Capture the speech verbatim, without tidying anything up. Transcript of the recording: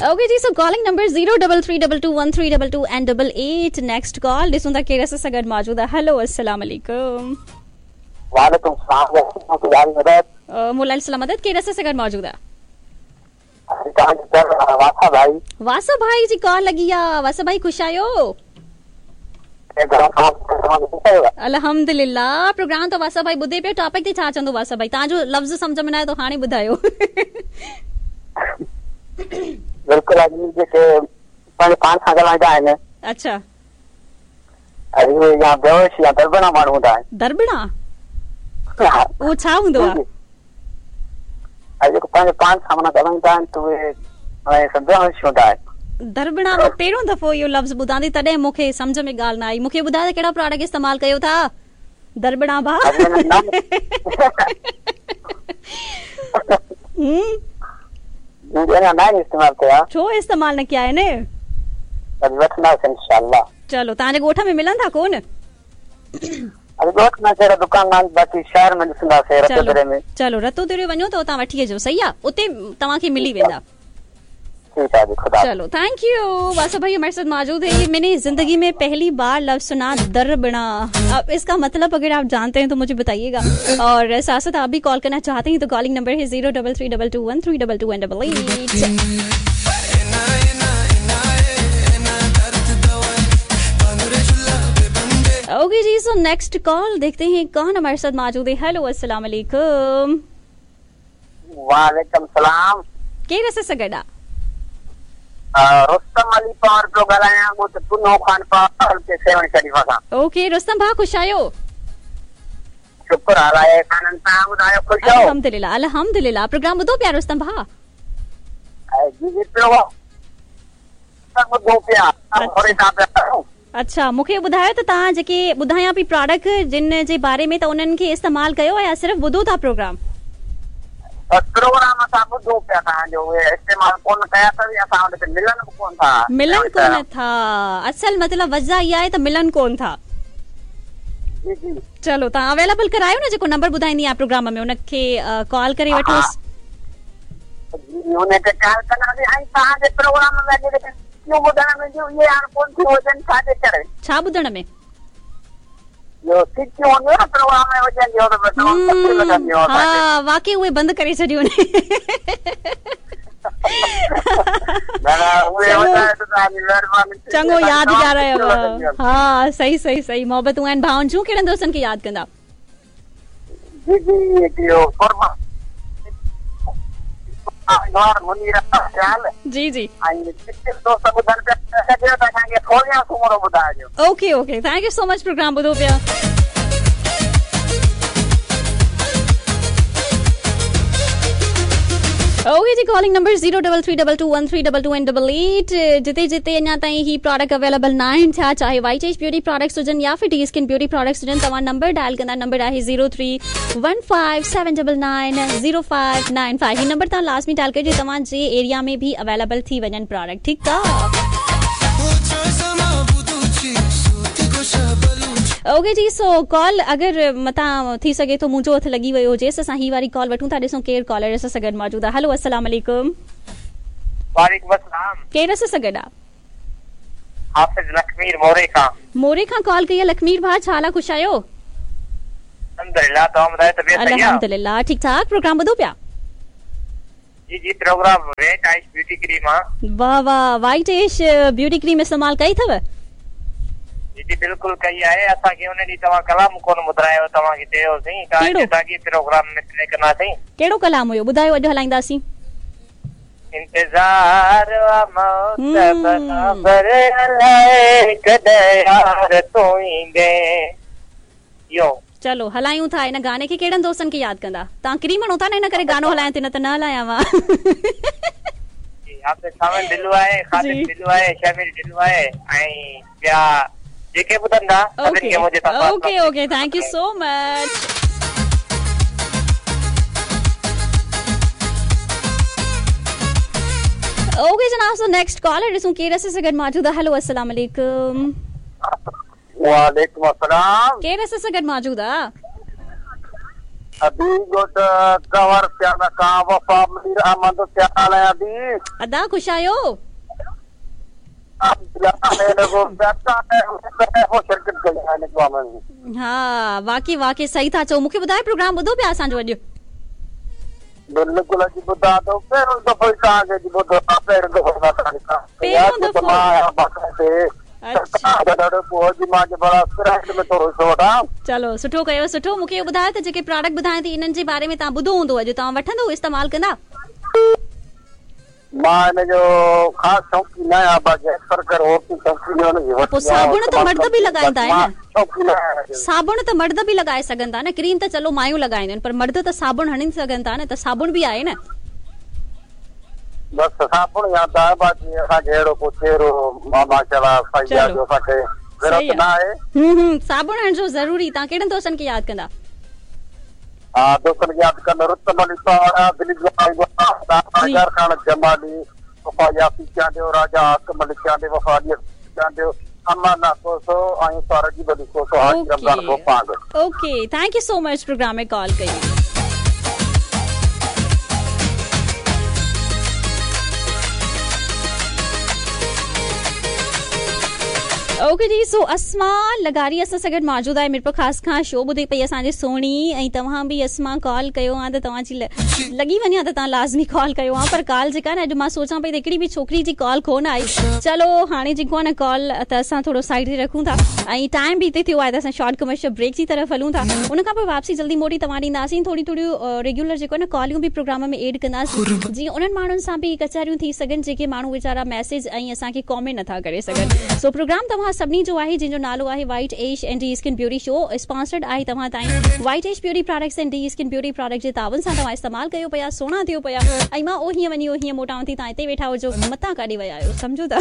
Okay ji, so calling number zero double three double two one three double two and double eight. Next call ॾिसूं था केरु असां सां गॾु मौजूदु आहे। हेलो, अस्सलाम वालेकुम। वालेकुम सलाम। मोला सलाम मदद, केरु असां सां गॾु मौजूदु आहे? वासा भाई। वासा भाई जी कॉल लॻी आहे। वासा भाई ख़ुशि आहियो? अल्हम्दुलिल्लाह। प्रोग्राम त वासा भाई ॿुधे पियो, टॉपिक ते छा चवंदो वासा भाई? तव्हांजो लफ़्ज़ सम्झ में न आयो त हाणे ॿुधायो। बिल्कुलु जेके पंहिंजे पाण सां ॻाल्हाईंदा आहिनि। अच्छा, अरे या बेहोश या दरबणा माण्हू हूंदा आहिनि। दरबणा उहो छा हूंदो आहे? जेको पंहिंजे पाण सां माना ॻाल्हाईंदा आहिनि त उहे बेहोश हूंदा आहिनि। दरबणा मां पहिरियों दफ़ो इहो लफ़्ज़ ॿुधां थी, तॾहिं मूंखे सम्झ में ॻाल्हि न आई। मूंखे ॿुधायो त कहिड़ा प्रोडक्ट इस्तेमालु कयो था दरबणा भाउ? इस्तेमाल कया। छो इस्तेमालु न कया आहिनि? वठंदासीं इंशाअल्लाह। चलो, तव्हांजे ॻोठ में मिलनि था कोन? ॻोठ में अहिड़ा दुकान आहिनि, बाक़ी शहर में ॾिसंदासीं रतोदरे में। चलो, रतोदरे वञो त उतां वठी अचिजो, सही आहे? उते तव्हांखे मिली वेंदा। ठीक है, खुदा। चलो, thank you वासु भाई हमारे साथ मौजूद है। ये मैंने जिंदगी में पहली बार लफ्ज सुना दरबना। अब इसका मतलब अगर आप जानते हैं तो मुझे बताइएगा, और साथ साथ आप भी कॉल करना चाहते हैं तो कॉलिंग नंबर है zero double three double two one three double two one double eight. Okay ji, so next call देखते हैं कौन हमारे साथ मौजूद है। हेलो, अस्सलाम वालेकुम। वालेकुम सलाम। केरु असां सां गॾु आहे? रुस्तम अली पार पियो ॻाल्हायां, ॻोठ पुनो खान पार के सेवण शरीफ खां। ओके रुस्तम भाउ, ख़ुशि आहियो? शुक्र अलाह खाननि, तव्हां ॿुधायो ख़ुशि आहियो? अल्हम्दुलिल्लाह, अल्हम्दुलिल्लाह। प्रोग्राम ॿुधो पिया रुस्तम भाउ? जी जी पियो ॿुधो पिया। अच्छा, मूंखे ॿुधायो त तव्हां जेके ॿुधायां पई प्रोडक्ट जिन जे बारे में, त उन्हनि खे इस्तेमालु कयो या सिर्फ़ ॿुधो था प्रोग्राम? प्रोग्राम असां ॿुधो पिया तव्हांजो, उहे इस्तेमालु कोन कया अथव, असां वटि मिलनि बि कोन था। मिलनि कोन था, असल मतिलबु वजह इहा आहे त मिलनि कोन था। जी जी। चलो, तव्हां अवेलेबल करायो न, जेको नंबर ॿुधाईंदी आहियाँ प्रोग्राम में उनखे कॉल करे वठोसि। जी, उनखे कॉल कंदासीं। ऐं तव्हांजे प्रोग्राम में जेके ॿुधण में ईंदियूं, उहे हाणे कोन थियूं हुजनि, छाजे करे? छा ॿुधण में? हा, वाकई उहे बंदि करे छॾियूं। चङो यादि ॾियारायो। हा, सही सही सही। मोहबतूं आहिनि भाउनि जूं। कहिड़नि दोस्तनि खे यादि कंदा? जी जी जी जी। Okay okay, thank you so much. Programme ॿुधो पिया। Okay ji, calling number zero double three double two one three double two and double eight. जिते जिते अञा ताईं ही प्रोडक्ट अवेलेबल न आहिनि थिया, चाहे वाइट एज ब्यूटी प्रोडक्ट्स हुजनि या फिर डी स्किन ब्यूटी प्रोडक्ट्स हुजनि, तव्हां नंबर डायल कंदा। नंबर आहे zero three one five seven double nine zero five nine five. ही नंबर तव्हां लाज़मी डायल करिजो, तव्हांजे एरिया में बि अवेलेबल थी वञनि प्रोडक्ट। ठीकु आहे। ओके जी, सो कॉल अगरि मतां थी सघे थो मुंहिंजो हथु लॻी वियो हुजे, असां ही वारी कॉल वठूं था। ॾिसूं केरु कॉलर असां सां गॾु मौजूदु आहे। हेलो, अस्सलाम वालेकुम। वालेकुम अस्सलाम। केरु असां सां गॾु आहे? हाफ़िज़ लखमीर मोरे खां। मोरे खां कॉल कई आहे। लखमीर भाउ, छा हाल आहे? ख़ुशि आहियो? अल्हम्दुलिल्लाह, तव्हां ॿुधायो तबियत सही आहे? अल्हम्दुलिल्लाह, ठीक ठाक। प्रोग्राम ॿुधो पिया? जी जी, program white ice beauty cream आहे। वाह वाह, वाइट एश ब्यूटी क्रीम इस्तेमालु कई अथव? जी जी, बिल्कुलु कई आहे। असांखे उन ॾींहुं तव्हां कलाम कोन ॿुधायो, तव्हांखे चयोसीं त साॻी प्रोग्राम में प्ले कंदासीं। कहिड़ो कलाम हुयो ॿुधायो, अॼु हलाईंदासीं। इंतज़ार आ मौत बराबर अलाए कॾहिं यार तूं ईंदे। इहो चलो हलायूं था इन गाने खे। कहिड़नि दोस्तनि खे यादि कंदा? तव्हां क्रीम हणो था न, इन करे गानो हलायां थी, न त न हलायां मां। हाफ़िज़ ढिल्लो आहे, ख़ादिम ढिल्लो आहे, शमीर ढिल्लो आहे ऐं ॿिया जेके ॿुधंदा सभिनी खे मुंहिंजे तरफ़ां। Okay okay, thank you so much. Okay जनाब, सो नेक्स्ट कॉलर ॾिसूं केरु असां सां गॾु मौजूदु आहे। हेलो, अस्सलाम वालेकुम। वालेकुम अस्सलाम। केरु असां सां गॾु मौजूदु आहे? अदी गोठ कंवर सियाल खां वफ़ा मीर अहमद सियाल आहियाँ अदी। अदा ख़ुशि आहियो? हा वाकई वाकई सही था चओ। मूंखे ॿुधायो प्रोग्राम ॿुधो पिया असांजो अॼु? बिल्कुलु अॼु ॿुधां थो, पहिरियों दफ़ो ई तव्हांखे अॼु ॿुधो आहे, पहिरियों दफ़ो मां पहिरियों दफ़ो? चलो सुठो कयो सुठो। मूंखे इहो ॿुधायो त जेके प्रोडक्ट ॿुधायां थी इन्हनि जे बारे में तव्हां ॿुधो हूंदो अॼु, तव्हां वठंदो इस्तेमालु कंदा? मां हिन जो ख़ासि शौक़ीन न आहियाँ, बाक़ी अक्सर करे पोइ साबुण त मर्द बि लॻाईंदा आहिनि न? साबुण त मर्द बि लॻाए सघनि था न, क्रीम त चलो मायूं लॻाईंदियूं आहिनि पर मर्द त साबुण हणी सघनि था न, त साबुण बि आहे न। बसि साबुण यादि आहे, बाक़ी असांखे अहिड़ो को चहिरो माशाअल्लाह सही आहे जो असांखे ज़रूरत न आहे। हम्म हम्म साबुण हणजो ज़रूरी। तव्हां कहिड़नि दोस्तनि खे यादि कंदा? हा दोस्तनि खे यादि कंदो रुस्तम अली पाड़ा, खान जमाली, वफ़ा यासी चांडियो, राजा हाकिम अली चांडियो, वफ़ा अली चांडियो, अमाना कोसो ऐं सारजी अली कोसो, Haji Ramzan Gopang. Okay thank you so much programme में कॉल कई। ओके जी, सो अस्मा लगारी असां सां गॾु मौजूदु आहे मीरपुर ख़ास खां। शो ॿुधे पई असांजी सोणी ऐं तव्हां बि अस्मा कॉल कयो आहे त तव्हांजी लॻी वञे हा त तव्हां लाज़मी कॉल कयो हा, पर कॉल जेका न अॼु मां सोचां पई त हिकिड़ी बि छोकिरी जी कॉल कोन आई। चलो हाणे जेको आहे न कॉल त असां थोरो साइड ते रखूं था ऐं टाइम बि हिते थियो आहे त असां शॉर्ट कमर्शियल ब्रेक जी तरफ़ हलूं था। उन खां पोइ वापसी जल्दी मोटी तव्हां ॾींदासीं। थोरी थोरियूं रेगुलर जेको आहे न कॉलियूं बि प्रोग्राम में एड कंदासीं जीअं उन्हनि माण्हुनि सां बि कचहरियूं थी सघनि जेके माण्हू वीचारा मैसेज ऐं असांखे कॉमेंट नथा करे सघनि। सो प्रोग्राम तव्हां सभिनी जो आहे जंहिंजो नालो आहे white ash and D skin beauty show, sponsored आहे तव्हां ताईं white ash beauty products and D skin beauty product जे तावन सां तव्हां इस्तेमालु कयो पिया, सोणा थियो पिया ऐं मां ओ हीअं वञी ओ हीअं मोटावां थी, तव्हां हिते वेठा हुजो, मतां काॾे विया आहियो, सम्झो था।